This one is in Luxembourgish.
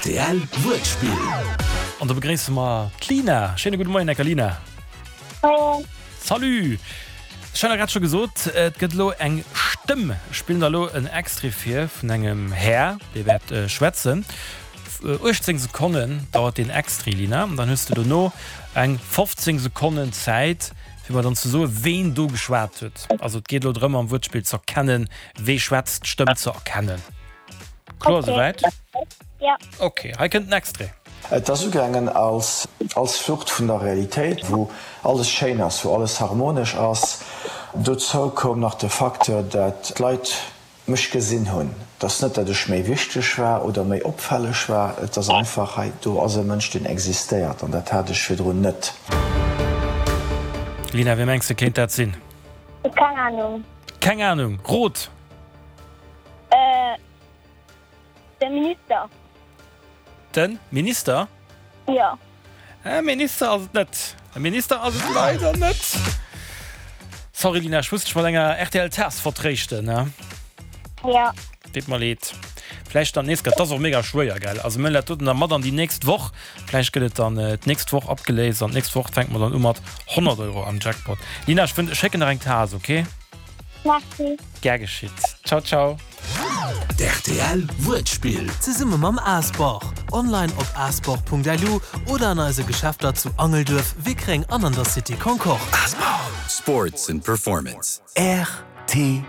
Rtl Wuertspill. An do begréisse mer d'Lina. Schéine gudde Moien, Ecker Lina. Moien. Salut! Ech hat der grad scho gesot, et gëtt elo eng Stëmm. Ech spillen der elo en Extrait vir vun engem Här, dee wäert schwätzen. 18 Sekonnen dauert deen Extrait, Lina. An dann hues de dono eng 15 Sekonnen Zäit, fir mer dann ze soen, ween do geschwat huet. Also et geet elo drëm, am Wuertspill z'erkennen, wee schwätzt, d'Stëmm ze erkennen. Kloer esouwäit? Ja. Ok, hei kënnt den Extrait. Et ass ugaangen als als Flucht vun der Realitéit, wou alles schéin ass, wou alles harmonesch ass. Dozou koum nach de Facteur, dat d'Leit mech gesinn hunn. Et ass net, dat ech méi wichteg war oder méi opfälleg war, et ass einfach, hei do ass e Mënsch, deen existéiert an dat hat ech virdrun net. Lina, wee mengs de kéint dat sinn? Keng Ahnung. Keng Ahnung? Rot! Äh, de Minister. De Minister? Jo. E Minister ass et net. E Minister ass et leider net. Sorry Lina, ech muss dech mat enger rtl Taass vertréischten, ne? Jo. Deet mer leed. Vläicht dann d'nächst Kéier. 't ass och mega schwéier, gell? Also mir huelen dat doten da mat an déi nächst Woch. Vläicht gëtt et dann d'nächst Woch abgeléist an d'nächst Woch fänke mer dann u mat 100 Euro am Jackpot. Lina, ech wënn, ech schécken der eng Taass, okay? Merci. Gär geschitt. Ciao ciao. D'RTL Wuertspill. Zesumme mam Asport. Online op asport.lu oder an eise Geschäfter zu Angelduerf, Wickreng an an der City Concorde. Asport. Sports and Performance. Rtl.